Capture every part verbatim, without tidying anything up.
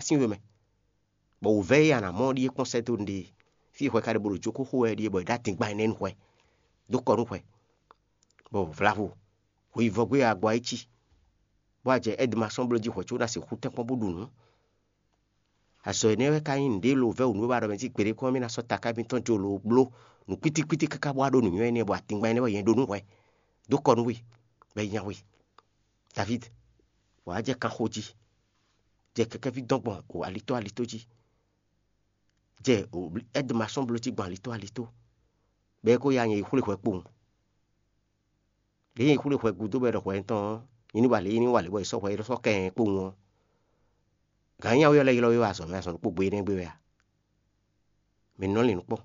sín we mɛ, bɔ wǔvɛ́ e a nǎ mɔ ɔ́ ɖíe kpɔ́n sɛ́ dó nǔɖé. Fí e hwɛ ka ɖe bó ɖo jókó xo wɛ é ɖíe, bɔ è ɖó adingban énɛ́ nú hwɛ, dó kɔ nú hwɛ, bɔ vlavo hweyivɔ́gbé e a gbɔ ayí cí, bɔ a jɛ ɛ́dmasɔ́n bló jí hwɛ̌ có ná sixú tɛ́nkpɔ́n bó ɖu nǔ. Azɔ̌ énɛ́ wɛ ka nyí nǔɖé e lo vɛ́ wǔ nú we ba ɖɔ mɛ jí gbeɖé kɔn mì ná sɔ́ taká mitɔn jó lo bló nǔ kpítíkpítí káká bɔ wá ɖó nǔnywɛ́ énɛ́ bɔ atingban énɛ́ wɛ nyɛ ɖó nú hwɛ, dó kɔ nú we, bɔ é nya we. Davíd, wǎ jɛ kanxo jí, jɛ kɛkɛ́ví dɔn gbɔn o alitó alitó jí, jɛ o ɛ́dmasɔ́n bló jí gbɔn alitó alitó, bɔ é ko ya nyɛ yi xwlé hwɛ kpowun. Lě e xwlé hwɛ gúdo bɔ è ɖɔ hwɛ tɔn ɔ́, nyí ní wa lě, nyí ní wa lě bɔ è sɔ́ hwɛ, è sɔ́ kɛ nyɛ kpowun ɔ́, gǎn nyawé ɔ́ lɛ́ ylɔ́ we wɛ azɔ̌ mɛ, azɔ̌ ɖokpó gbe énɛ́ gbe wɛ a? Mǐ nɔ lin nǔ kpɔ́n,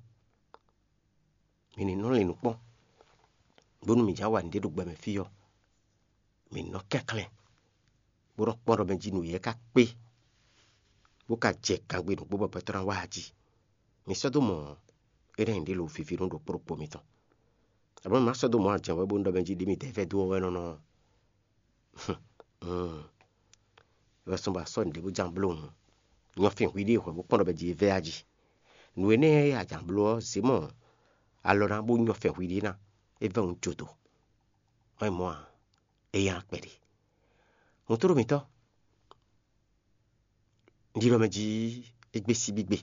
mǐ ní nɔ lin nǔ kpɔ́n, bónú mǐ jǎ wa nǔɖé ɖo gbɛ mɛ fí ɔ́, mǐ nɔ kɛnklɛ́n, bó nɔ kpɔ́n ɖɔ mɛ jí nǔ yɛ ká kpé, bó ka jɛ kangbe nǔgbó bɔ gbɛtɔ́ ná wá a jí. Mi sɔ́ dó mɔ ɔ́, é ná nyí ɖě lo viví nú ɖokpó ɖokpó mitɔn. Abǐ ma sɔ́ dó mɔ ajɛ̌ wɛ bónú ɖɔ mɛ jí ɖě mi dɛ̌ vɛ́ dó ɔ́ wɛ nɔ́ nɔ ɔ́. Wɛ sɔ́ ba sɔ́ nǔɖé bó ján bló hǔn, nyɔ fin hwi ɖíe hwɛ bó kpɔ́n ɖɔ mɛ jí é vɛ́ a jí. Nǔ énɛ́ e a jǎn bló ɔ́, zě mɔ alɔ ná bó nyɔ fɛn hwi ɖíe ná, é vɛ́ hǔn jo dǒ. Wɛ mɔ a, é nyá kpɛɖé. Hǔn tló mǐtɔn, un ɖi ɖɔ mɛ jí é gbé síbígbe.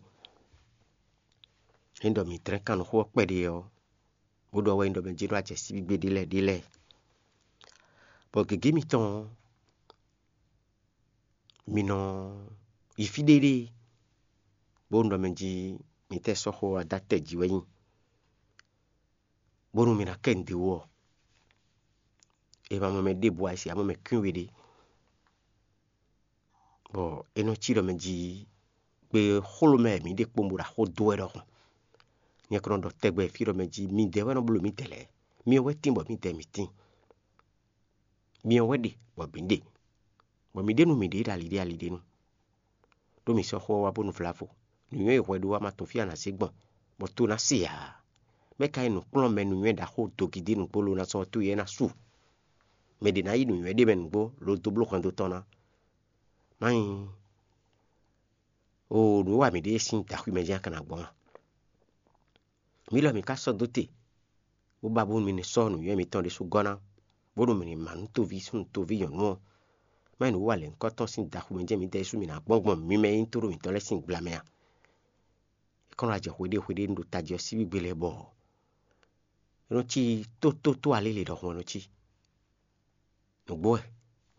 Ényí ɖɔ mǐ dlɛ́n kannumxó ɔ́ kpɛɖé ɔ́, bó ɖɔ wɛ nyí ɖɔ mɛ jí ɖó acɛ síbígbe ɖé lɛ́ɛ ɖé lɛ́ɛ. Bɔ gěgé mitɔn ɔ́, mi nɔ yi fí ɖéɖée, bónú ɖɔ mɛ jí mi tɛ́ sɔ́ xó ɔ́ dó atɛ jí wɛ nyí, bónú mi ná kɛ nǔɖé wú ɔ́, è ma mɔ mɛ ɖěbǔ ǎ, è sixú mɔ mɛ kwín we ɖé. Bɔ é nɔ cí ɖɔ mɛ jí gbe xló mɛ mǐ ɖe kpowun bó ɖo axó dó wɛ ɖɔhun. Nyɛ ko nɔ ɖɔ tɛgbɛ fí ɖɔ mɛ jí midɛɛ wɛ nɔ bló mǐdɛɛ lɛ́ɛ, myɔ wɛ tín bɔ mǐdɛɛ mǐ tín, myɔ wɛ ɖe bɔ mǐ ɖe, bɔ mǐ ɖe nú mǐɖée ɖo ali ɖé ali ɖé nu. Ɖó mǐ sɔ́ xó ɔ́ wá bónú vlavo, nǔnywɛ́ e hwɛ ɖó wá ma tunwun fí a nǎ zé gbɔn, bɔ to ná se ǎ. Mɛ̌ ka nyí nǔkplɔ́nmɛ nǔnywɛ́ ɖaxó dogidé nǔgbó lo ná sɔ́ towe ɔ́ ná su? Mɛ ɖě ná yí nǔnywɛ́ ɖé mɛ nǔgbó lo dó bló hwɛndo tɔn ná. Má nyí oo nǔ e wa mǐ ɖe é sín daxwi mɛ jɛ́n a ka ná gbɔn a? Mǐ lɔ mǐ ka sɔ́ dó te, bó ba bónú mi ní sɔ́ nǔnywɛ́ mitɔn ɖésú gɔ́ ná, bónú mi ní má nú toví súnnu toví nyɔ̌nu ɔ́, má nyí nǔ wa lɛ̌ngbɔ́ tɔn sín daxwi mɛ jɛ́n mǐdɛɛ ɖésú mǐ ná gbɔn gbɔn mi mɛ e nyí tóɖó mǐtɔn lɛ́ɛ sín gbla mɛ a? É kɔn nɔ wá jɛ hweɖée hweɖée nu ɖo tají ɔ́ síbí gbe lɛ́ɛ bɔ é nɔ cí tótótó alélě ɖɔhun wɛ é nɔ cí. Nǔgbó wɛ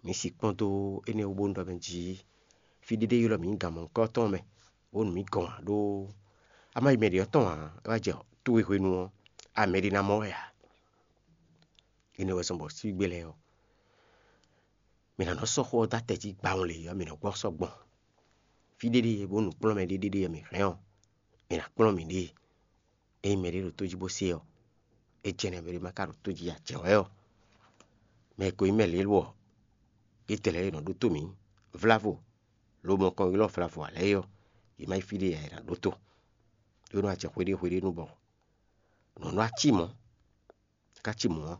mǐ si kpɔ́n dó énɛ́ wú bónú ɖɔ mɛ jí fí ɖé ɖé ylɔ́ mǐ nyi gan mɔ̌hunkɔtɔn mɛ, bónú mǐ gɔn ǎ ɖó a ma yi mɛ ɖě ɔ́ tɔn ǎ, é wá jɛ towe hwenu ɔ́, a mɛ ɖé ná mɔ wɛ ǎ. Énɛ́ wɛ zɔ́n bɔ síbígbe lɛ́ɛ ɔ́, mǐ ná nɔ sɔ́ xó ɔ́ dó atɛ jí gbawun lě ɔ́, mǐ nɔ gbɔ sɔ́ gbɔn. Fí ɖé ɖé bónú nǔkplɔ́nmɛ ɖé ɖé ɖé mǐ hɛn ɔ́, mǐ ná kplɔ́n mǐɖée. Ényí mɛɖé ɖo tó jí bó se ɔ́, é jɛ́n nɛ́ mɛɖé ma ka ɖo tó jí ǎ. Jɛ̌ wɛ ɔ́, mɛ e ko nyí mɛ lě ɔ́, é tɛ́ lɛ́ɛ é nɔ ɖótó mǐ, vlavo, lobo nɔ kɔn ylɔ́ vlavo ǎ lɛ́ɛ é ɔ́, yě má yi fí ɖé ǎ, è nǎ ɖótó. É nɔ acɛ hweɖée hweɖée nu bɔ nǔ nɔ cí mɔ̌, ká cí mɔ̌ ɔ́,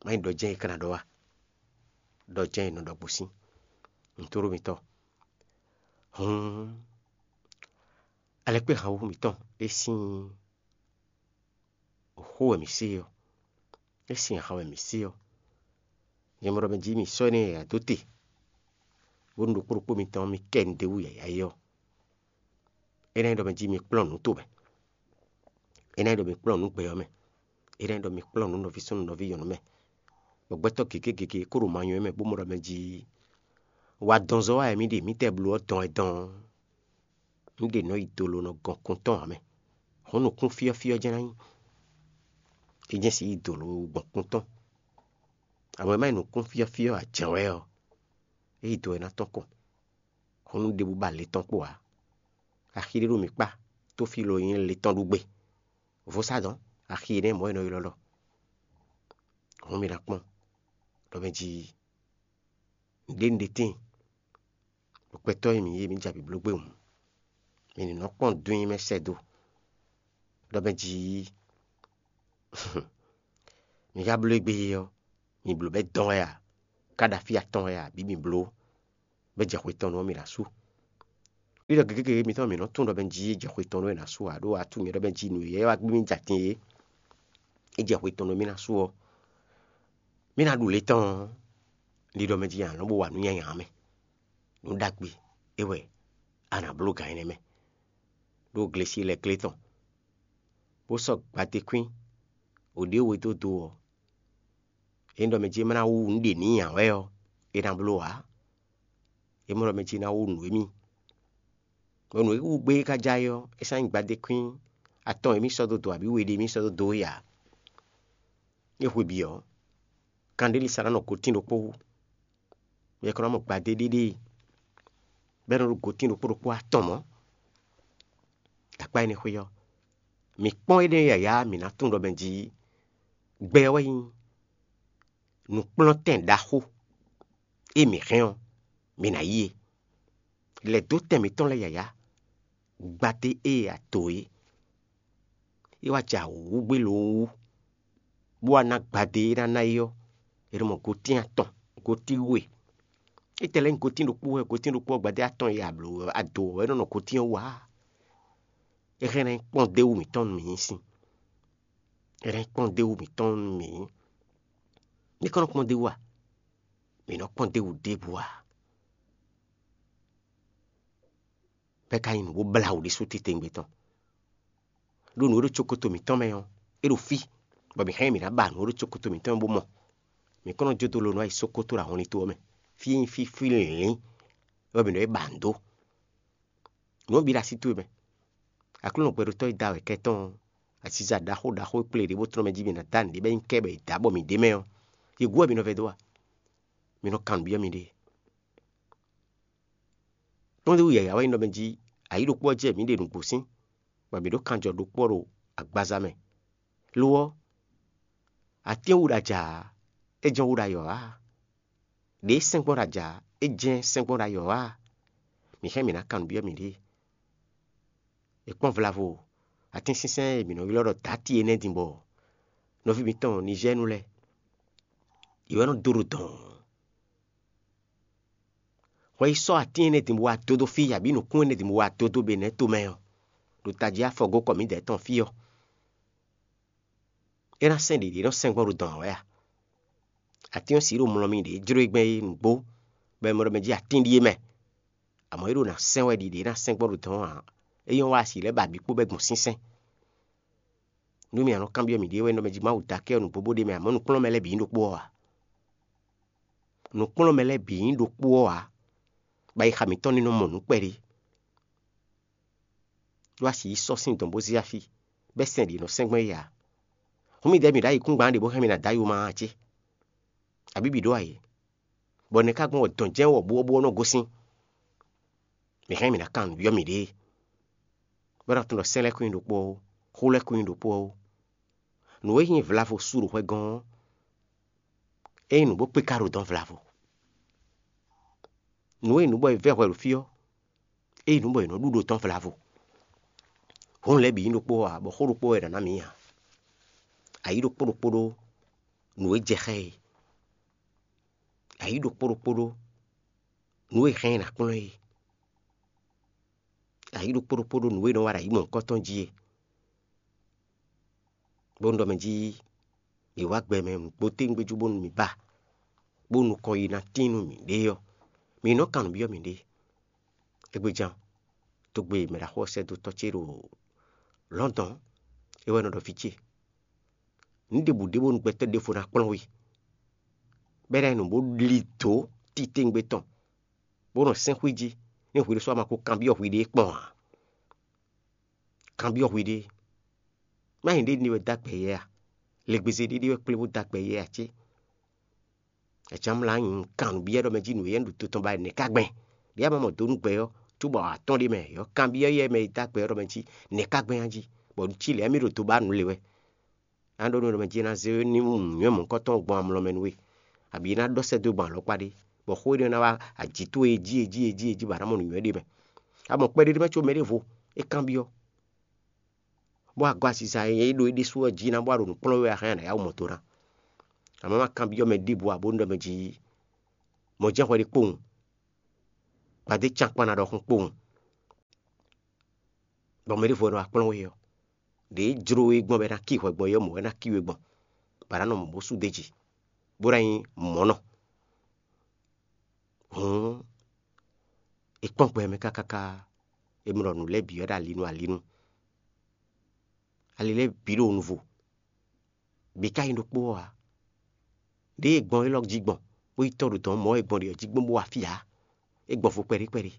má nyí ɖɔ jɛ́n é ka ná ɖɔ wá. Ɖɔ jɛ́n è nɔ ɖɔ gosín. Nǔtóɖó mitɔn, hǔn alɛkpéhanwú mǐtɔn é sín xó wɛ mǐ se ɔ́, é sin ahan wɛ mǐ se ɔ́, nyɛ mɔ ɖɔ mɛ jí mi sɔ́ énɛ́ yǎyá dó te, bónú ɖokpó ɖokpó mitɔn mi kɛ nǔɖé wú yǎyá é ɔ́, é ná nyí ɖɔ mɛ jí mi kplɔ́n nǔ tomɛ, é ná nyí ɖɔ mi kplɔ́n nǔ gbɛ ɔ́ mɛ, é ná nyí ɖɔ mi kplɔ́n nǔ nɔví súnnu nɔví nyɔ̌nu mɛ, bɔ gbɛtɔ́ gěgé gěgé kó ɖo ma nyɔ́ mɛ bó mɔ ɖɔ mɛ jí wa dɔnzɔ́ wa wɛ mǐ ɖe, mǐtɛɛ bló ɔ́ dɔn wɛ dɔn ɔ́, un ɖe nɔ yi dolo nɔ gɔn kun tɔn ǎ mɛ. Hɔn nukún fyɔ́fyɔ́ jɛ́n ná nyí. É jɛ́n si yi dolo gbɔn kun tɔn. Amɔ̌ é má nyí nukún fyɔ́fyɔ́ ǎ jɛ́n wɛ ɔ́, é yi do wɛ ná tɔ́n kɔn. Hɔn nú ɖěbǔ ba le tɔn kpo ǎ. Axi ɖé ɖo mǐ kpá, tófílo e nyí le tɔn ɖu gbe. Vodún axi énɛ́ mɔ̌ è nɔ ylɔ́ ɖɔ. Hɔn mi ná kpɔ́n ɖɔ mɛ jí nǔɖé nǔɖé tíin, ɖo gbɛtɔ́ e mǐ nyí é, mǐ jɛ avǐ bló gbé hǔn, mi ní nɔ kpɔ́n dún nyi mɛ sɛ́ dó. Ɖɔ mɛ jí mi ka bló égbé é ɔ́, mi blǒ bɔ é dɔn wɛ a, ká ɖo afí atɔn wɛ a, bǐ mi bló bɔ é jɛ xwe tɔn nu ɔ́, mi ná sú. Ɖiɖɔ gěgé mitɔn mǐ nɔ tunwun ɖɔ mɛ jí é jɛ xwe tɔn nú é ná su ǎ, ɖó a tunwun nyɛ ɖɔ mɛ jí nǔ e wá gbé mì jɛ atin é, é jɛ xwe tɔn nú mì ná su ɔ́, mì ná ɖu lě tɔn ɔ́, ɖiɖɔ mɛ jí a nǎ nɔ bó wa nǔ nyanya mɛ. Nǔ ɖagbe é wɛ a nǎ bló gǎn énɛ́ mɛ, ɖó glesi lɛ́ glé tɔn, bó sɔ́ gbadékwín wǒ ɖé we dó do ɔ́, é nyí ɖɔ mɛ jí é ma ná wú nǔ ɖě n'i ǎ wɛ ɔ́, é ná bló ǎ. É mɔ ɖɔ mɛ jí ná wú nǔ émí. Bɔ nǔ e wú gbé é ka já é ɔ́, é sɔ́ nyí gbadékwín atɔn émí sɔ́ dó do abǐ we ɖé émí sɔ́ dó dó é ǎ. É hwe bǐ ɔ́, kanɖéli sa ná nɔ gotín ɖokpó wú. Yɛ kɔ ná mɔ gbadé ɖéɖée, bɔ é nɔ ɖo gotín ɖokpó ɖokpó atɔn mɔ̌. Akpá énɛ́ xwé ɔ́, mǐ kpɔ́n énɛ́ yǎyá mǐ ná tunwun ɖɔ mɛ jí gbɛ ɔ́ wɛ nyí nǔkplɔ́ntɛn ɖaxó e mǐ hɛn ɔ́, mǐ ná yí e. Lɛ̌ dó tɛn mǐtɔn lɛ́ɛ yǎyá, gbadé e a to é, é wá jɛ awǔ gbé lo wú, bó wá ná gbadé e ná ná é ɔ́, è nɔ mɔ gotín atɔn, gotín we. Étɛ́ lɛ́ɛ nyí gotín ɖokpó wɛ, gotín ɖokpó ɔ́ gbadé atɔn e a blǒ a do wɛ é nɔ nɔ gotín ɔ́ wú ǎ. É hɛn ná nyí kpɔ́ndéwú mǐtɔn nú mǐ nyí sin. É hɛn ná nyí kpɔ́ndéwú mǐtɔn nú mǐ nyí. Mí kɔn nɔ kpɔ́ndéwú a? Mǐ nɔ kpɔ́ndéwú ɖěbǔ ǎ. Bɔ é ka nyí nǔ bó blá wǔ ɖésú titewungbe tɔn. Ɖó nǔ e ɖo cókoto mǐtɔn mɛ ɔ́, é ɖo fí, bɔ mǐ hɛn mǐ ná ba nǔ e ɖo cókoto mǐtɔn mɛ bó mɔ. Mǐ kɔn nɔ jó dó lo nǔ ayǐ sókótó ɖo ahɔnlin to ɔ́ mɛ. Fí e nyí fí fí lǐnlín wɛ mǐ nɔ yi ba nǔ dó. Nǔ ɔ́ bǐ ɖo así towe mɛ. Aklúnɔ gbɛɖotɔ́ e da wɛ kɛ tɔn ɔ́, aziza ɖaxó ɖaxó e kplé ɖě bó tlɔ́n mɛ jí mǐ ná dá nǔɖé bɔ é nyí kɛ bɔ è dǎ bɔ mǐ ɖ'é mɛ ɔ́, yě gu wɛ mǐ nɔ vɛdó a? Mi nɔ kan nǔ byɔ́ miɖée. Kpɔ́ndéwú yǎyá wɛ nyí ɖɔ mɛ jí ayǐ ɖokpó ɔ́ jɛ mǐ ɖe nǔgbó sín, bɔ mǐ ɖo kanjɔ ɖokpó ɔ́ ɖo agbaza mɛ. Lo ɔ́, atín wú ɖo aja ǎ, é jɛ́n wú ɖo ayɔ ǎ. Ɖě e sɛ́n gbɔn ɖo aja ǎ, é jɛ́n sɛ́n gbɔn ɖo ayɔ ǎ. Mǐ hɛn mǐ ná kan nǔ byɔ́ miɖée. È kpɔ́n vlavo, atínsínsɛ́n e mǐ nɔ ylɔ́ ɖɔ dǎti énɛ́ din bɔ nɔví mitɔn Nizɛ́ɛnu lɛ́ɛ, yě wɛ nɔ dó ɖo dɔ̌n. Hwɛ yi sɔ́ atín énɛ́ din bó wá dó dó fí, abǐ nǔkún énɛ́ din bó wá dó dó Benɛ́ tomɛ ɔ́, ɖo tají afɔgókɔ mǐdɛɛ tɔn fí ɔ́, é ná sɛ́n ɖě ɖě nɔ sɛ́n gbɔn ɖo dɔ̌n ǎ wɛ a? Atín ɔ́ sǐ ɖo mlɔ mì ɖě jló e gbɛn é nǔgbó, bɔ è mɔ ɖɔ mɛ jí atín ɖíe mɛ. Amɔ̌ é ɖo ná sɛ́n wɛ ɖi ɖě ná sɛ́n gbɔn ɖo dɔ̌n ǎ. É nyɔ́ wá asi lɛ́ɛ ba bǐ kpó bɔ é gbɔn sínsɛ́n. Nú mì a nɔ kanbyɔ́ mì ɖě wɛ nɔ mɛ jí Mawu dó akɛ ɔ́ nǔgbó bó ɖ'é mɛ, amɔ̌ nǔkplɔ́nmɛ lɛ́ɛ bǐ nyí ɖokpó ɔ́ ǎ. Nǔkplɔ́nmɛ lɛ́ɛ bǐ nyí ɖokpó ɔ́ ǎ, bɔ ayixa mǐtɔn ní nɔ mɔ nǔ kpɛɖé. Ɖó asi yi sɔ́ sín dɔn bó zé afí, bɛ́ sɛn ɖě nɔ sɛ́n gbɔn é ǎ. Hǔn midɛɛ mǐ ɖo ayǐkúngban ɖě bó hɛn mì ná dó ayo ma a cé? Abǐ bǐ ɖó ayǐ? Bɔ nɛ̌ ka gbɔn wɛ dɔn jɛ́n wɔ̌buwɔ́bú ɔ́ nɔ gosín? Mǐ hɛn mǐ ná kan nǔ byɔ́ mǐɖée, bó ná tunwun ɖɔ sɛ́n lɛ́ɛ kún nyí ɖokpó ɔ́ ó, xó lɛ́ɛ kún nyí ɖokpó ɔ́ ó. Nǔ e nyí vlavo su ɖo hwɛ gɔ́n ɔ́, é nyí nǔ bó kpé ka ɖo dɔn vlavo. Nǔ e nyí nǔ bɔ è vɛ́ hwɛ ɖo fí ɔ́, é nyí nǔ bɔ è nɔ ɖu ɖo dɔn vlavo. Hǔn lɛ́ɛ bǐ nyí ɖokpó ǎ, bɔ xó ɖokpó wɛ è nǎ ná mǐ ǎ. Ayǐ ɖokpó ɖokpó ɖó nǔ e jɛ xá ɛ, ayǐ ɖokpó ɖokpó ɖó nǔ e hɛn ɛ ná kplɔ́n é, ayǐ ɖokpó ɖokpó ɖó nǔ e nɔ wa ɖo ayǐ mɔ̌hunkɔtɔn jí é. Bónú ɖɔ mɛ jí mǐ wá gbɛ mɛ nǔgbó téwúngbéjú bónú mǐ ba, bónú nukɔn yi ná tín nú mǐɖée ɔ́, mǐ nɔ kan nǔ byɔ́ mǐɖée. Égbéjan, togbe mɛɖaxó ɔ́ sɛ́ dó tɔ́ ce ɖo Lɔ̌ndɔn, é wɛ nɔ ɖɔ fí ce. Nǔ ɖěbǔ ɖe bónú gbɛtɔ́ ɖěvo ná kplɔ́n we, bɔ é ná nyí nǔ bó lí dǒ titewungbe tɔn, bó nɔ sɛ́n xwí jí, nú hwi ɖésú a ma ko kanbyɔ́ hwiɖée kpɔ́n ǎ. Kanbyɔ́ hwiɖée. Má nyí ɖě ní wɛ dó agbɛ yɛ a? Legbeze ɖé ɖé wɛ kplé bó dó agbɛ yɛ a cé? Acǎmlá nyi kan nǔ byɔ́ ɖɔ mɛ jí nǔ éyɛ́ ɖo to tɔn ba nɛ̌ ka gbɛn? Ɖě a ma mɔ dó nú gbɛ ɔ́, cóbɔ atɔ́n ɖé mɛ, yɔ kanbyɔ́ yɛ mɛ e dó agbɛ ɔ́ ɖɔ mɛ jí nɛ̌ ka gbɛn a jí, bɔ nǔ cí lɛ̌ mì ɖo do ba nǔ le wɛ. A ɖó nú ɖɔ mɛ jí é ná zé ní nǔnywɛ́ mɔ̌hunkɔtɔn gbɔn amlɔ mɛ nú we, abǐ é ná ɖɔ sɛ́ dó gbɔn alɔkpa ɖé, bɔ xó énɛ́ ná wá ajǐ towe jí e jí e jí e jí bɔ a nǎ mɔ nǔnywɛ́ ɖé mɛ. A mɔ kpɛɖé ɖé mɛ có mɛɖěvo é kanbyɔ́, bɔ agɔ aziza e é ɖo é ɖésú ɔ́ jí ná bɔ a ɖo nǔ kplɔ́n wɛ a hɛn a nǎ yá wǔ mɔ do ná. Amɔ̌ ma kanbyɔ́ mɛ ɖěbǔ ǎ bónú ɖɔ mɛ jí mɔ̌ jɛ́n hwɛ ɖé kpowun, gbadé can kpán ná ɖɔhun kpowun. Bɔ mɛ ɖěvo wɛ nɔ wá kplɔ́n we ɔ́, ɖě jló we gbɔn bɔ é ná kí hwɛ gbɔn é ɔ́, mɔ̌ wɛ ná kí we gbɔn, bɔ a nǎ nɔ mɔ bó sú d'é jí, bó ná nyí mɔ̌ nɔ. Hǔn, è kpɔ́n gbɛ mɛ káká, è mlɔ nǔ lɛ́ɛ bǐ wɛ ɖo alinu alinu. Ali lɛ́ɛ bǐ ɖo nuvo, bǐ ka nyí ɖokpó ɔ́ ǎ. Ɖěe è gbɔn élɔ́ jí gbɔn, bó yi tɔ́ ɖo dɔ̌n mɔ̌ e è gbɔn ɖe ɔ́ jí gbɔn bó wá fí ǎ. É gbɔn vo kpɛɖí kpɛɖí.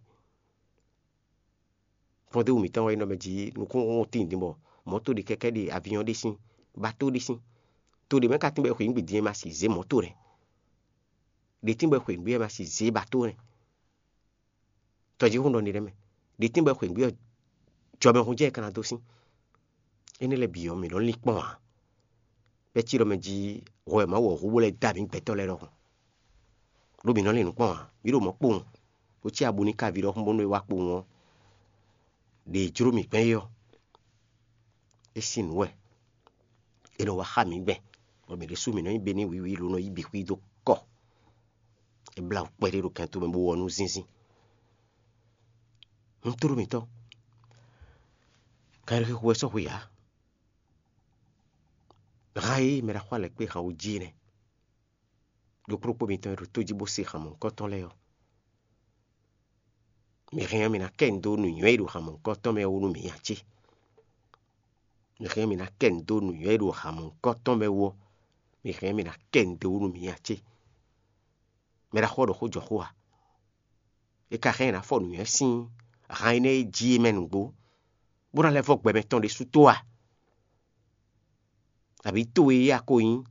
Kpɔ́ndéwú mǐtɔn wɛ nyí nɔ mɛ jí nukúnnú tín din bɔ mɔ̌to ɖe kɛ́kɛ́ ɖe, aviɔn ɖe sín, bato ɖe sín. To ɖě mɛ ka tín bɔ è xweyǐgbe din e ma si zě mɔ̌to nɛ́. Ɖě tín bɔ è xweyǐgbe e ma si zě bato nɛ́. Tɔjíhún ɖɔ n'i ɖɛ́ mɛ. Ɖě tín bɔ è xweyǐgbe ɔ́, jɔmɛhún jɛ́n è ka ná dó sín. Énɛ́ lɛ́ɛ bǐ ɔ́, mǐ nɔ́ lín kpɔ́n ǎ. Bɛ́ cí ɖɔ mɛ jí hwɛ Mawu ɔ́ hu bó lɛ́ da mǐ gbɛtɔ́ lɛ́ɛ ɖɔhun. Ɖó mǐ nɔ́ lin nǔ kpɔ́n ǎ. Mǐ ɖo mɔ̌ kpowun, bó cí abú ní ká vǐ ɖɔhun bónú é wá kpowun ɔ́, ɖě jló mǐ gbɛn é ɔ́, é sín nǔ wɛ. È nɔ wá xá mǐ gbɛn, bɔ mǐ ɖésú mǐ nɔ nyí be n'i wǐwí ló nɔ yí bǐ xwí dó kɔ. É blá wǔ kpɛɖé ɖo kɛnto mɛ bó wɔ nú zínzín. Ntúɖú mǐtɔn, kanɖéxexo wɛ sɔ́ hwe ǎ. Han e mɛ ɖaxó alɛkpé han wú jí nɛ́. Ɖokpóɖokpó mitɔn e ɖo tó jí bó se han mɔ̌hunkɔtɔn lɛ́ɛ ɔ́, mi hɛn ɔ́, mi ná kɛ nu dó nǔnywɛ́ e ɖo han mɔ̌hunkɔtɔn mɛ ɔ́ wú nú mǐ ǎ cé? Mi hɛn ɔ́, mi ná kɛ nu dó nǔnywɛ́ e ɖo han mɔ̌hunkɔtɔn mɛ wú ɔ́, mi hɛn ɔ́, mi ná kɛ nu dó wú nú mǐ ǎ cé? Mɛ ɖaxó ɔ́ ɖo xó jɔ xó a? È ka hɛn ɔ́, è nǎ fɔ nǔnywɛ́ sín han énɛ́ e jí é mɛ nǔgbó, bó ná lɛ́ vɔ́ gbɛ mɛtɔn ɖésú tó a? Abǐ towe yí a ko nyí?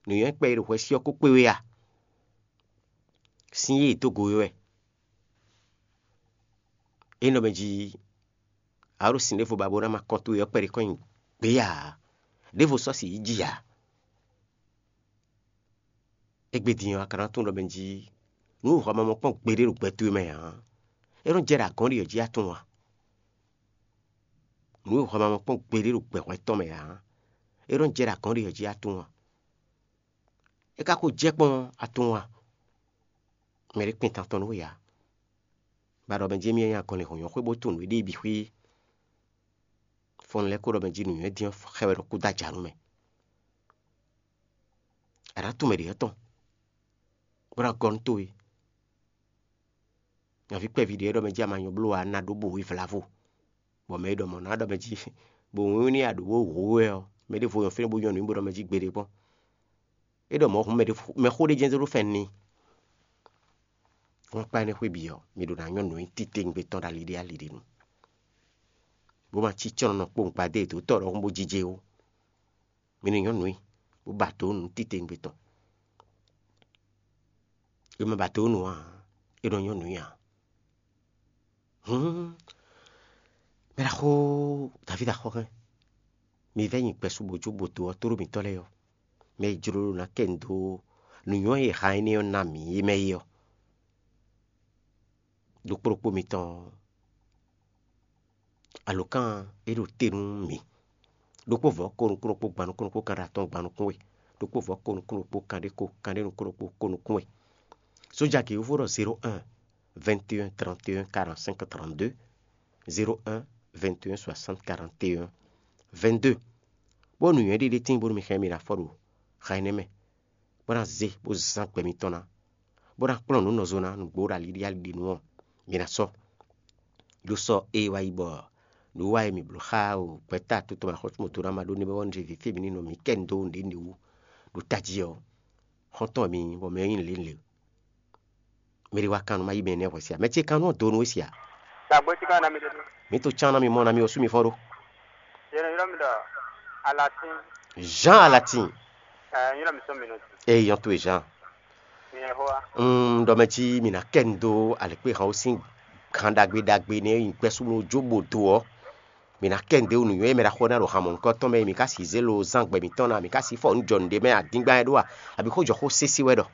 Nǔnywɛ́ kpɛ e ɖo hwɛsí ɔ́ ko kpé we a? Sín yí è dó go we wɛ. É nɔ mɛ jí a ɖo sin ɖěvo ba bó ná ma kɔn towe ɔ́ kpɛɖé kɔn nyi gbě ǎ. Ɖěvo sɔ́ si yí ji ǎ. Égbé din ɔ́, a ka ná tunwun ɖɔ mɛ jí nǔ hwamamɔ kpɔ́n gbeɖé ɖo gbɛ towe mɛ ǎ. É nɔ jɛ ɖo agɔ̌n ɖi ɔ́ jí a tunwun a? Nǔ e hwamamɔ kpɔ́n gbeɖé ɖo gbɛ hwɛtɔn mɛ ǎ. É nɔ jɛ ɖo agɔ̌n ɖi ɔ́ jí a tunwun a? É ka ko jɛ kpɔ́n a tunwun a? Mɛ ɖé kpin tantɔn nú we ǎ. Ba ɖɔ mɛ jí émí nyí agɔnlin hɔ̌nyɔ́ xwé bó tunwun nǔ e ɖi bǐ xwí. Fɔ́n lɛ́ɛ ko ɖɔ mɛ jí nǔnywɛ́ dín ɔ́ xɛ wɛ ɖo kúdó ajǎ nú mɛ. A nǎ tunwun mɛ ɖě ɔ́ tɔn, bó ná gɔ́ nú towe. Nyaví kpɛví ɖě e ɖɔ mɛ jí a ma nyɔ bló ǎ ná ɖó bo wǐ vlavo, bɔ mɛ e ɖɔ mɔ̌ ná ɖɔ mɛ jí bo wínwín n'i a ɖǒ bó hu we ɔ́, mɛ ɖěvo nyɔ fínɛ́ bó nyɔ nǔ bó ɖɔ mɛ jí gbeɖé kpɔ́n. É ɖɔ mɔ̌ hǔn mɛ ɖé mɛ xó ɖé jɛ́n zé ɖó fɛ́n n'i. Wọ́n kpá énɛ́ xwé bǐ ɔ́, mi ɖo ná nyɔ́ nǔ nyi titewungbe tɔn ɖo ali ɖé ali ɖé nu, bó ma cí cɔ́nnɔ kpowun gbadé e dǒ tɔ́ ɖɔhun bó jijé ó. Mi ní nyɔ́ nǔ nyi, bó ba dǒ nǔ titewungbe tɔn. È ma ba dǒ nǔ ǎ, è nɔ nyɔ́ nǔ nyi ǎ. Hǔn, mɛ ɖaxó Davídi axɔ́ hɛn, mi vɛ́ nyi gbɛ̌ su bó jó bó dó ɔ́ tóɖó mǐtɔn lɛ́ɛ ɔ́, mɛ e jló ná kɛ nu dó nǔnywɛ́ e han énɛ́ ɔ́ ná mǐ é mɛ é ɔ́. Ɖokpó ɖokpó mitɔn, alǒkan e ɖo te nú mǐ. Ɖokpó vɔ̌ ko nukún ɖokpó gban nukún ɖokpó kanɖé atɔ́ɔ́n gban nukún we. Ɖokpó vɔ̌ ko nukún ɖokpó kanɖé ko kanɖé nukún ɖokpó ko nukún we. Sójagě yovo ɖɔ zéro un, vingt et un, trente et un, quarante-cinq, trente-deux, zéro un, vingt et un, soixante, quarante et un, vingt-deux. Bó nǔnywɛ́ ɖé ɖé tíin bónú mi xɛn mì ɖo afɔ ɖo xan énɛ́ mɛ, bó ná zé bó zán gbɛ mitɔn ná, bó ná kplɔ́n nǔ nɔ zo ná nǔgbó ɖo ali ɖi ali ɖi nu ɔ́, mi ná sɔ́. Ɖó sɔ́ ée wá yi bɔ nǔ wa e mǐ bló xá o gbɛ̌ta to tɔn mɛ axɔ́súmɔto ná ma ɖó nɛ́ bɔ ní zé vǐ fí mǐ ní nɔ mǐ kɛ nu dó nǔɖé nǔɖé wú ɖo tají ɔ́, xɔ́ntɔn wɛ mi nyí, bɔ mɛ ɔ́ nyí lě lě. Mɛ ɖé wá kan nú má yí mɛ énɛ́ hwɛ̌ sia. Mɛ ce kan nú ɔ́ do nú we sia. Dagbe tí ká ná mi ɖe. Mǐ to cán ná mi mɔ ná mi ɔ́ sú mi fɔ́n ɖó. Yě nɔ ylɔ́ mi ɖɔ Alatín. Jean Alatin. Ɛ, ylɔ́ mi sɔ́ mi nɔ. Eye yɔn towe Jean. Mi yɛ xó wa. Un ɖɔ mɛ jí mi ná kɛ nu dó alěkpéhan ó sín gan ɖagbe ɖagbe nɛ nyi gbɛ́súnú jó bó do ɔ́. Mi ná kɛ nu dó nǔnywɛ́ e mɛ ɖaxó ná ɖo han mɔ̌hunkɔtɔn mɛ, mi ka si zé lo zán gbɛ mǐtɔn ná, mi ka si fɔ nǔ jɔ nǔɖé mɛ adíngban wɛ ɖó a, abǐ xó jɔ xó sésé wɛ ɖɔ.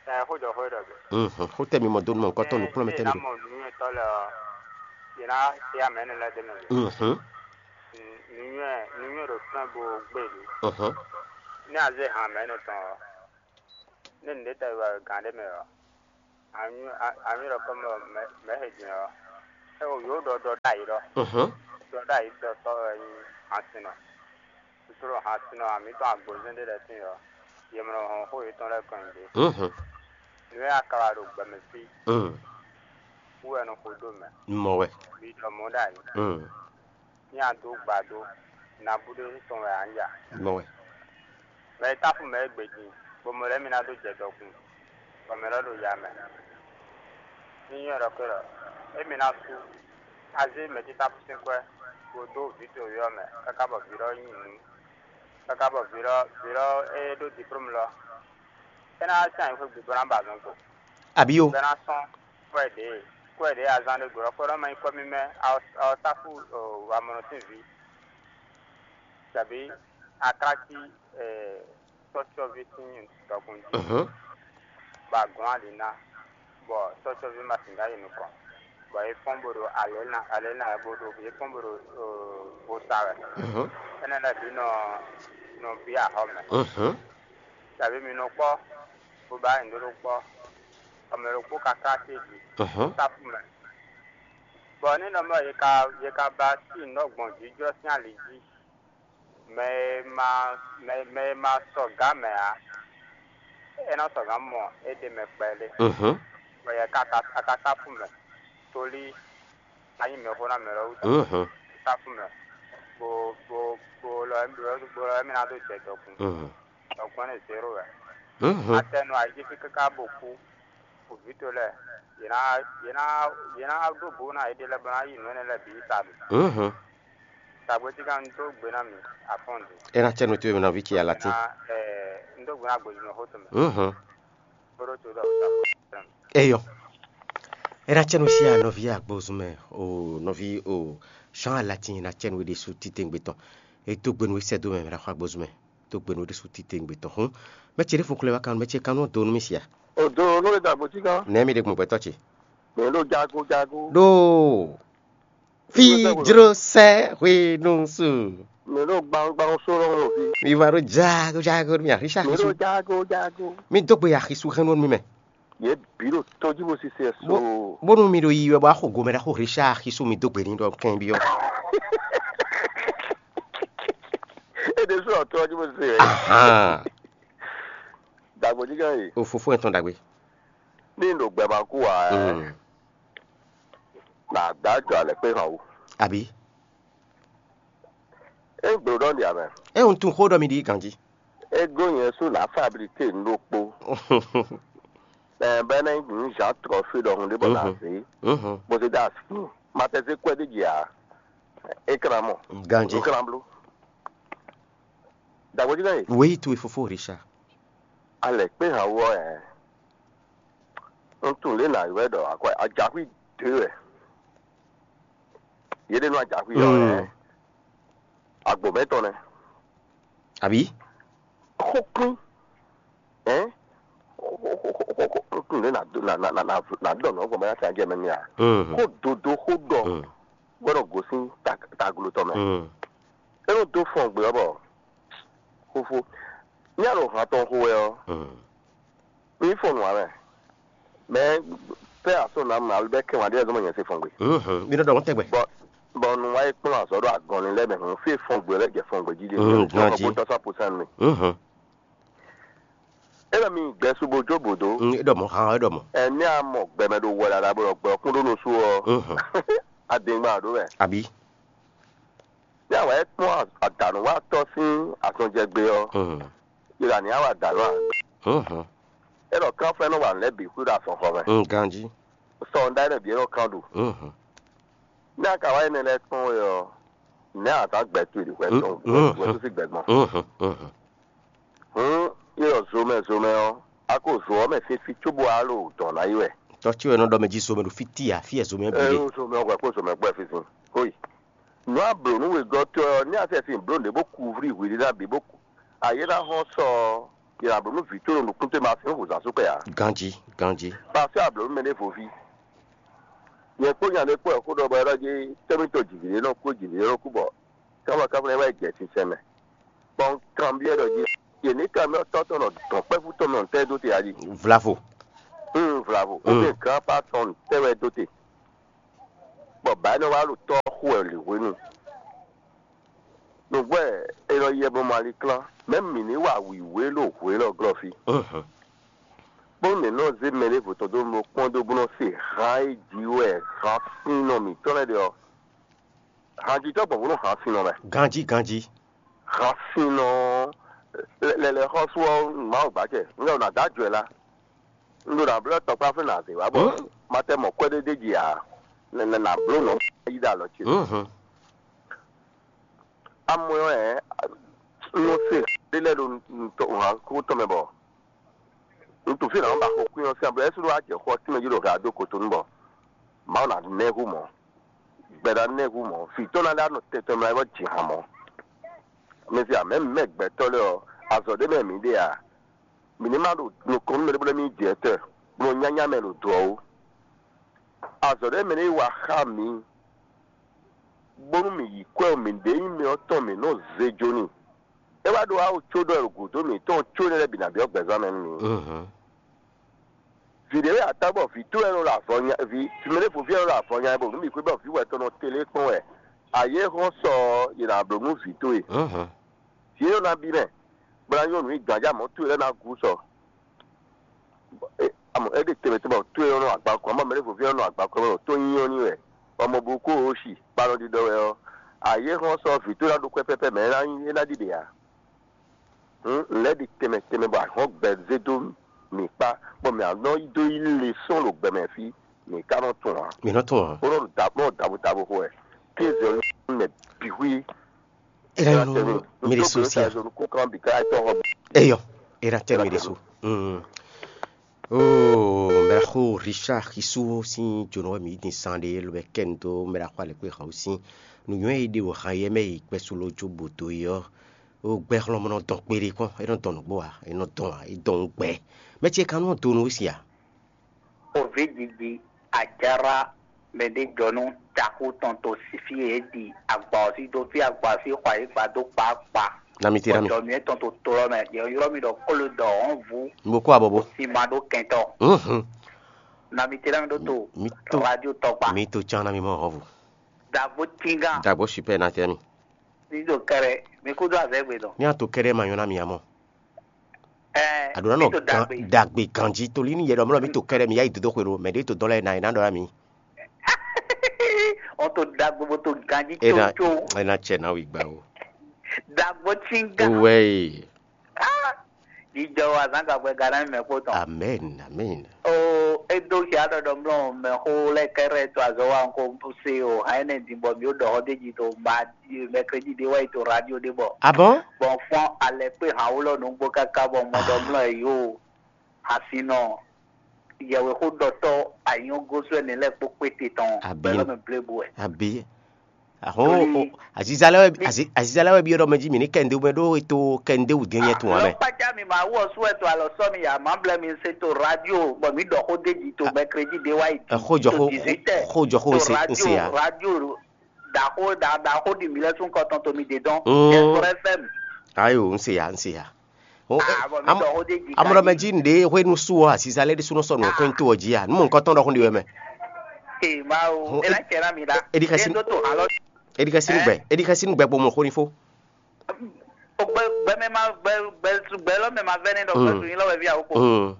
Ɛ, xó jɔ xó ɖɔ. Mhm, xó tɛ mi mɔ dó nú mɔ̌hunkɔtɔn nǔkplɔ́nmɛ tɛ mi ɖo. Mɔ nǔnywɛ́tɔ́ lɛ ɔ́, yě ná tɛ amɛ énɛ́ lɛ́ɛ dó mɛ. Mhm. Nǔnywɛ́ nǔnywɛ́ ɖo flɛ́n bo gbé ɖě. Mhm. Ní a zé han mɛ énɛ́ tɔn ɔ́, ní nǔɖé tɛ wɛ gǎn ɖé mɛ ɔ́, anyú anyú ɖɔ kɔ́ mɛ mɛ he jɛ́n ɔ́, é wǒ yǒ ɖɔ ɖɔ ɖ'ayǐ ɖɔ. Mhm. Ɖɔ ɖ'ayǐ ɖɔ sɔ́ wɛ nyí hansinɔ. Susu ɖo hansinɔ amǐtɔn agbozɛ́n ɖé lɛ́ɛ sín ɔ́, yě mɔ hɔn xó yětɔn lɛ́ɛ kɔn nyi ɖě. Mhm. Nǔ e a ka wa ɖo gbɛ mɛ fí Mm. wú wɛ nɔ xo ɖó mɛ. Mɔ wɛ. Mi ɖɔ mɔ̌ ɖ'ayǐ. Mm. Ní a dó gbado, nabú ɖé tɔn wɛ ǎ ja. Mɔ wɛ. Mɛ e táfú mɛ é gbe din, bɔ mɛ lɛ́ɛ mi ná dó jɛ dɔkun, bɔ mɛ lɛ́ɛ ɖo ya mɛ. Ní nyɔ́ ɖɔ kpé ɖɔ, émí ná sú, a zé mɛ̌ títá sín kwɛ́, bó dó vǐ towe ɔ́ mɛ, káká bɔ vǐ lɔ nyi nǔ, káká bɔ vǐ lɔ vǐ lɔ e ɖó diplómu lɔ, é ná wá sín anyǐxwé gbe bó ná ba azɔn kpo, Abǐ yo. bó ná sɔ́n kwɛ́ ɖě kwɛ́ ɖě azán ɖé glɔ́, kwɛ́ ɖɔ má nyí kwɛ́ mímɛ́, awɔsáfú amɔnɔ sín vǐ, tɛbí aklácí tɔ́cyɔ́ví sín dɔkun jí, Mhm. bɔ a gɔ̌n ali ná, bɔ tɔ́cyɔ́ví ma sǐn dó ayi nukɔn, bɔ é fɔ́n bo ɖo alě ná alě ná wɛ bo ɖo é fɔ́n bo ɖo bo sa wɛ. Mhm. Énɛ́ lɛ́ɛ bǐ nɔ nɔ bí axɔ mɛ. Mhm. Tɛbí mi nɔ kpɔ́, bó ba nyǐɖó ɖó kpɔ́, bɔ mɛ ɖokpó ka ká acéjí Mhm. sáfú mɛ. Bɔ ní nɔ mɔ yě ka yě ka ba sí nǔ gbɔn jǐjɔ́ sín ali jí, mɛ e ma mɛ mɛ e ma sɔgǎ mɛ ǎ, é nɔ sɔgǎ mɔ é ɖ'é mɛ kpɛɖé, Mhm. bɔ yě ka ka ka sáfú mɛ, tóli a nyí mɛxó ná mɛ lɛ́ɛ wú tɔn. Mhm. Sáfú mɛ, bo bo bo lɔ bo lɔ émí ná dó jɛ dɔkun. Mhm. Dɔkun énɛ́ zéro wɛ. Mhm. Atɛnu ayíjí fí káká bo kú, vǐ towe lɛ́ɛ, yě ná yě ná yě ná ɖó bǔ ná yěɖée lɛ́ɛ bɔ ná yi nǔ énɛ́ lɛ́ɛ bǐ yi ta mɛ. Mhm. Tagbe cí ká un dó gbe ná mi afɔ́n ɖě. É ná cɛ nú towe mɛ nɔví ce alatín. Un dó gbe ná gbojúmɛ xó tɔn mɛ. Mhm. Bó ɖó to ɖɔ Eyɔ. É ná cɛ nú sí anɔví agbozun mɛ o nɔví o Jean alatín ná cɛ nú é ɖésú títewungbe tɔn. É dó gbe nú é sɛ́ dó mɛ mɛ ɖaxó agbozun mɛ. Dó gbe nú é ɖésú títewungbe tɔn. Hǔn mɛ ce ɖěvo xlɛ́ wá kan mɛ ce kan nɔ dó nú mì sia. O do nú le dagbo cí kan. Nɛ̌ mi ɖe gbɔn gbɛtɔ́ ce? Mɛ ɖo jago jago. Ɖó fi jló sɛ hwenu su. Mɛ ɖo gbangban so lɔ wɔ fi. Mi va ɖo jago jago mi axi sa axi su. Mɛ ɖo jago jago. Mi dó gbe axi su hɛn nú mi mɛ. Yě bǐ ɖo tɔjíbo sise so. Bónú mi ɖo yiyi wɛ bɔ axo gomɛ ɖaxó Richard axi su mi dó gbe ní ɖɔ kɛn byɔ́. É ɖésú ɔ tɔjíbo sise wɛ. Ahan. Dagbo jí kan yi. O fofó yẹn tɔn dagbe. Ní ɖo gbɛ ma kú wa ɛ. Mm. Na gbá jɔ alɛ kpé hàn wú. Àbí? É gblo ɖɔ ɖi amɛ. É un tún xó ɖɔ mi ɖi ganjí. É gó nyɛ sú nǎ fablité nú ɖokpó. Ɛ bɛ́ ná nyí nǔ Jean Trɔfí ɖɔhun ɖé bɔ ná zé. Mhm. Bó zé dó así. Ma tɛ zé kwɛ́ ɖé jɛ ǎ. É kran mɔ. Ganjí. É kran bló. Dagbo jí kan yi. Wěyi towe fofó Richard. Alɛ kpé hàn wú ɔ ɛ. Un tunwun lě nǎ ylɔ́ ɛ ɖɔ akwɛ́ ajaxwí dě wɛ. Yě ɖe nú ajaxwí ɔ́ ɛ. Agbo mɛ̌tɔn nɛ́. Àbí? Xókún. Ɛ? Un tunwun lě nǎ ɖɔ nǔ ɔ́ gbɔn bɔ é ná sɛn ajɛ mɛ n'i a? Xó dodo xó ɖɔ. Gbɔdɔ gosín taglo tɔn mɛ. É nɔ dó fɔn gbé ɔ́ bɔ xófó. Ní a ɖo han tɔn xo wɛ ɔ́, mi fɔn nǔ ǎ mɛ. Mɛ pɛ́ asɔ́ nǎ mɛ alo bɛ́ kɛ́n wǎn ɖé lɛ́ɛ zɔ́n mɔ nyɛ se fɔn gbe. Mi nɔ ɖɔ wọ́n tɛgbɛ. Bɔ bɔ nu wá yi kplɔ́n azɔ̌ ɖo agɔnlin lɛ́ɛ mɛ hǔn fí fɔn gbe lɛ́ɛ jɛ fɔn gbe jí ɖe. Ganjí. Bó tɔ́ sɔ́ posán mi. É ɖɔ mi gbɛ su bo jó bǒ dó. É ɖɔ mɔ̌, han é ɖɔ mɔ̌. Ɛnɛ́ a mɔ gbɛmɛ ɖo wɛ ɖaɖa bó ɖɔ gbɛ ɔ́ kún ɖó nú sú ɔ́, adingban ǎ ɖó wɛ. Àbí? Ní a wǎ yi kpɔ́n adǎnúwatɔ́ sín azɔnjɛgbé ɔ́, yi ɖo ani a wa dǎ lɔ ǎ. É ɖɔ kánfɛ́nú wa nǔ lɛ́ɛ bǐ xwí ɖo azɔnxɔ mɛ. Ganjí. Sɔ ɔ́ ɖ'ayǐ ɖɔ bǐ é nɔ kán ɖu. Ní a ka wá énɛ́ lɛ́ɛ kpɔ́n wɛ ɔ́, nɛ̌ a nǎ gbɛ towe ɖi hwɛ tɔn hwɛ tó sín gbɛ gbɔn? Hǔn, é ɖɔ zomɛ zomɛ ɔ́, a ko zo ɔ́ mɛ fífí cóbó wá ɖo dɔ̌n ná yi wɛ. Tɔ́ ce wɛ nɔ ɖɔ mɛ jí zomɛ ɖo fí tíya fí e zomɛ ɛ bǐ ɖe. Ɛ zomɛ ɔ́ hwɛ kpó zomɛ gbɔ ɛ fí sín. Xóyi. Nǔ a blǒ nú wegɔ́tɔ́ ɔ́, ní a sɛ sin blǒ nǔɖé bó kú vlí hwiɖíɖá bǐ bó kú. Ayé ná hɔn sɔ ɔ́, yě ná blǒ nú vǐ tó ɖo nukún towe mɛ a sɛn xo zǎn sú kpɛ ǎ. Ganjí, ganjí. Pasɛ́ a blǒ nú mɛɖěvo ví. Nyɛ kpó nya ɖé kpó wɛ xó ɖɔ bɔ é ɖɔ jí tɛ́mítɔ́ jǐví ɖé nɔ kú jǐví ɖé nɔ kú bɔ káfɔkáfɔ lɛ́ɛ wá yi jɛ sinsɛn mɛ. Bɔ un kanbyɔ́ ɖɔ jí yě ní kanbyɔ́ tɔ́ tɔn nɔ dɔn kpɛ́fú tɔn nɔ tɛ́ dó te a jí. Vlavo. Un vlavo. Ó bɛ gǎn pa tɔn tɛ́ wɛ dó te. Bɔ bǎ énɛ́ wá ɖo tɔ́ xo wɛ lě hwenu. Nǔgbɛ́ è nɔ yɛ bɔ maliklán, mɛ̌ mǐ ní wa wǐwé ɖo hwě élɔ́ glɔ́ fí? Bónú mǐ nɔ zé mɛ ɖěvo tɔn dó nɔ kpɔ́n dó bó nɔ se han e jí wɛ han sínnɔ mǐtɔn lɛ́ɛ ɖe ɔ́, hanjitɔ́ gbɔn bó nɔ han sínnɔ mɛ. Ganjí, ganjí. Han sínnɔ lɛlɛ xɔ́sú ɔ́, Mawu gbacɛ, un ɖɔ nǎ dó ajɔ ɛ lá. Un ɖo nǎ blɔ́ tɔkpáflɛ́ nǎ zě wá bɔ ma tɛ mɔ kwɛ́ ɖé d'é jí ǎ. Nɛnɛ nǎ bló nɔ yi ɖo alɔ ce. Amɔ ɛ, un nɔ se ɖé lɛ́ɛ ɖo nǔkútɔ́ mɛ bɔ un tunwun fí nǎ ba xo kwín ɔ́ sín ablu ɛ́ sú ɖó wá jɛ xɔ tínmɛ jí ɖo hɛ dó kotonu bɔ Mawu ná nɛ́ hu mɔ̌. Gbɛ ná nɛ́ hu mɔ̌. Vǐ tɔn ná lɛ́ nɔ tɛn tɔn mɛ bɔ jǐ han mɔ̌. Mɛsí amɛ mɛ gbɛtɔ́ lɛ́ɛ ɔ́, azɔ̌ ɖé mɛ mǐ ɖe ǎ. Mǐ ní ma ɖo nukɔn nú mɛ ɖé bó lɛ́ mì jɛ tɛ, bó nɔ nyányá mɛ ɖo dɔ̌ ó. Azɔ̌ ɖé mɛ ní wa xá mǐ, bónú mǐ yí kwɛ́ ɔ́, mǐ ɖě nyí mɛ ɔ́ tɔn mǐ nɔ zé jó n'i. É wá ɖó awu có ɖɔ ɖo gǔdo mǐtɔn có énɛ́ lɛ́ɛ bǐ ná byɔ́ gbɛzán mɛ nú mǐ. Vǐ ɖé wɛ a tá bɔ vǐ towe wɛ nɔ ɖo avɔ nya vǐ vǐ mɛ ɖěvo ví wɛ nɔ ɖo avɔ nya bɔ nǔ bǐ xwé bɔ vǐ wɛ tɔn nɔ télé kpɔ́n wɛ. Ayě hɔn sɔ yě ná bló nú vǐ towe. Vǐ énɛ́ ná bí mɛ, bó ná nyɔ́ nǔ nyi gǎnjá mɔ̌ towe lɛ́ɛ ná gú sɔ. Amɔ é ɖe tɛnmɛ tɛnmɛ bɔ towe nɔ agban kɔn, amɔ mɛ ɖěvo ví nɔ agban kɔn bɔ tó nyí ɔ́ n'i wɛ, bɔ mɔ bu kó o si kpanɔ ɖiɖɔ wɛ ɔ́, ayě hɔn sɔ vǐ towe ná ɖó kwɛ́ pɛ́pɛ́ mɛ é ná ɖi ɖe ǎ. Hǔn un lɛ́ ɖi tɛnmɛ tɛnmɛ bɔ ahɔ̌n gbɛ zé dó mǐ kpá, bɔ mǐ nɔ yi dó yí le sɔ́n ɖo gbɛ mɛ fí, mǐ ka nɔ tunwun ǎ. Mǐ nɔ tunwun ǎ. Bó nɔ ɖo dǎ bó nɔ ɖo dǎ bo dǎ bo xo wɛ. Kéze ɔ́ mɛ bǐ xwí. Era yo no mire so sia. Eyɔ, era tɛ mire so. Mm. Oh, mɛɖaxó Richard Xisu sín jonɔ wɛ mǐ din san ɖe lobɛ kɛn dó mɛɖaxó alɛkpé han sín nǔnywɛ́ e ɖe o han yɛ mɛ yi kpɛ́ sú ló jó bó dó yi ɔ́. O gbɛ xlɔ́mɔ nɔ dɔn kpeɖé kpɔ́n, é nɔ dɔn nǔgbó ǎ, é nɔ dɔn ǎ, é dɔn nú gbɛ. Mɛ ce kan nɔ do nú we sia. Ovi didi ajara mɛ ɖé jɔ nú taxu tɔn to fí e é ɖi agba ɔ́ sí dó fí agba ɔ́ sí xɔ ayǐ gba dó kpákpá. Na mi te na mi. Bɔ dɔ̌ mǐtɔn to to ɔ́ mɛ, yě ylɔ́ mì ɖɔ kóló dɔ ɔ́n vú. Mo kó abɔbɔ. Sima ɖó kɛntɔ. Mhm. Na mi te na mi ɖó to. Mi to. Radio tɔgba. Mi to can na mi mɔ hɔn vo. Dagbo tinga. Dagbo super na tɛ mi. Ní ɖo kɛɖɛ, mi kúdó azɛ̌ gbe dɔn. Ní a to kɛɖɛ ma nyɔ́ ná mi ǎ mɔ. Ɛɛ, aɖǒ ná nɔ gan dagbe ganjí tolí ní yɛ ɖɔ mlɔ mi to kɛɖɛ mi yá yi dodó xwe ɖo mɛ ɖé to dɔn lɛ na yi ná ɖɔ ná mi. Ɔ to dagbe bó to ganjí tso. Ena cɛ ná wí gbá o. Dagbo tsinga. Wɛ. Jijɔ wa zan gagbɛ ga ná mi mɛ kpó tɔn. Amen, amen. O, edo xia ɖɔɖɔ mlɔ mɛ xó lɛ kɛrɛ to azɔ wa ŋko se o, hã ne din bɔ mi o ɖɔ xɔ de ji to ma mɛkredi de wa yi to radio de bɔ. Ah bon? Bɔn fɔn alɛ kpe hã wulɔ nugbo kaka bɔ mɔ ɖɔ mlɔ yi o. Asinɔ yɛwexóɖɔtɔ́ anyɔ́gósú ɛnɛ lɛ́ɛ kpó kpéte tɔn Abǐ. Bɛlɔ́ mɛ blébu wɛ. Abǐ. Ahɔn Tóli. O, aziza lɛ wɛ azi- aziza lɛ wɛ bi ɖɔ mɛ jí mi ní kɛnde wɛ ɖó eto kɛnde wù dín nyɛ tun wà mɛ. Lɔkpájá mi máa wú ɔsú wɛ tó alɔ sɔ mi yà má blɛ mi se to radio bɔ mi ɖɔ xó déji to mɛkredi de wa yi. Ɛ, xó jɔ xó- to dix-huit heures. Xó jɔ xó to nse- radio nse ya. Radio ɖaxó ɖa- ɖaxó ɖi mi lɛ sún kɔtɔn to mi de dɔn. Mm. Ɛsɔrɔ fm. Ayo, nse ya, nse ya. O, Ah, bɔ mi am- dɔ xó déji amúɖɔ mɛ jí nɖe hwenu sú ɔ aziza lɛ ɖésú nɔ sɔ nù kɔn to ɔ jí a nu mɔ nǹkan tɔn ɖɔ xó ɖi wɛ mɛ. Ee, ma o. Ela cɛ na mi la. Edi kasi- Endo to halɔ. Edi kasi nu gbɛ edi kasi nu gbɛ kpomɔ xó ni fó. O gbɛ gbɛ mɛ ma gbɛ gbɛ gbɛ lɔ mɛ ma vɛ ne dɔ gbɛ Mm. Sunyi lɔ wɛ vi awo ko. Mm.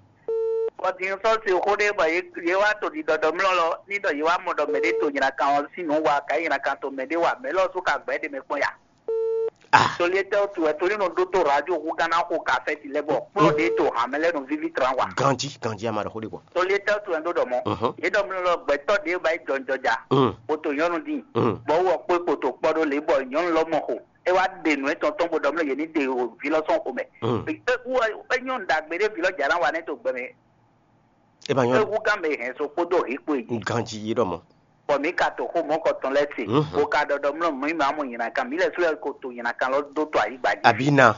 Bɔti n sɔ si xó ɖe bɔ ye ye wa to di dɔdɔ mlɔ lɔ ni dɔ ye wa mɔ dɔ mɛ ɖe to nyina kan ɔ si nu wa ka nyina kan to mɛ ɖe wa mɛ lɔ su ka gbɛ ɖe mɛ kpɔn ya. Ah. Tolíetɛ́ tu wɛ tolí nɔ ɖó tó radio hu gánná xo kafɛ́ti lɛ́ bɔ kplɔ́ ɖě to hǎmɛ lɛ́ɛ nɔ víví tran wa. Ganjí ganjí a ma ɖɔ xó ɖé gbɔ. Tolíetɛ́ tu wɛ ɖó ɖɔ mɔ. Mhm. Yě ɖɔ mlɔ gbɛtɔ́ ɖě ba yi jɔnjɔja. Mm. Kpoto nyɔnu dín. Mm. Bɔ wɔ kpó kpoto kpɔ ɖó lě bɔ nyɔnu lɔ mɔ xo. É wá ɖe nǔ etɔn tɔn bó ɖɔ mlɔ yě ní ɖe o vi lɔ sɔn xo mɛ. Mm. É wú é nyɔnu ɖagbe ɖé vi lɔ jà ná wa nɛ to gbɛ mɛ. E ma nyɔ. Ewu gán mɛ hɛn so kpódó hǐkpo yìí. Ganji yi ɖɔ mɔ. Bɔ mǐ ka to xó mɔ̌kɔtɔn lɛ́ɛ se, Mhm. Bó ka ɖɔ ɖɔ mlɔ́ mǐ ma mɔ nyina kan, mǐ lɛ́ sú lɛ́ ko to nyina kan lɔ dó to ayǐgba jí. Abǐ na.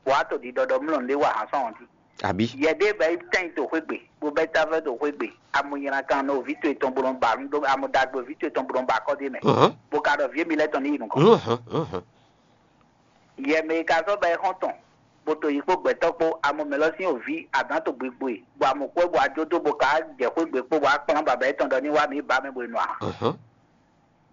Wǎ to ɖiɖɔ ɖɔ mlɔ́ ɖé wa hǎn sɔ́ ɔ́ jí. Abǐ. Yɛ ɖé bɛ yi tɛ́n to xwé gbe, bó bɛ ta vɛ to xwé gbe. Amu nyina kan nɔ vǐ to etɔn bó nɔ ba nú ɖó amu ɖagbe vǐ to etɔn bó nɔ ba akɔ́ ɖé mɛ. Mhm. Bó ka ɖɔ vǐ émi lɛ́ɛ tɔn ní yi nukɔn. Mhm, mhm. Yɛ mɛ e ka sɔ́ ba ɛ xɔ́n tɔn, bó to yi kpó gbɛtɔ́ kpó, amɔ mɛ lɔ sín oví adǎn to gbigbo e, bɔ amɔ kpɔ́ bɔ ajó dó bó ka jɛ xwé gbe kpó bɔ akplán baba yětɔn ɖɔ ní wá mǐ ba mɛ bo yi nɔ a? Mhm.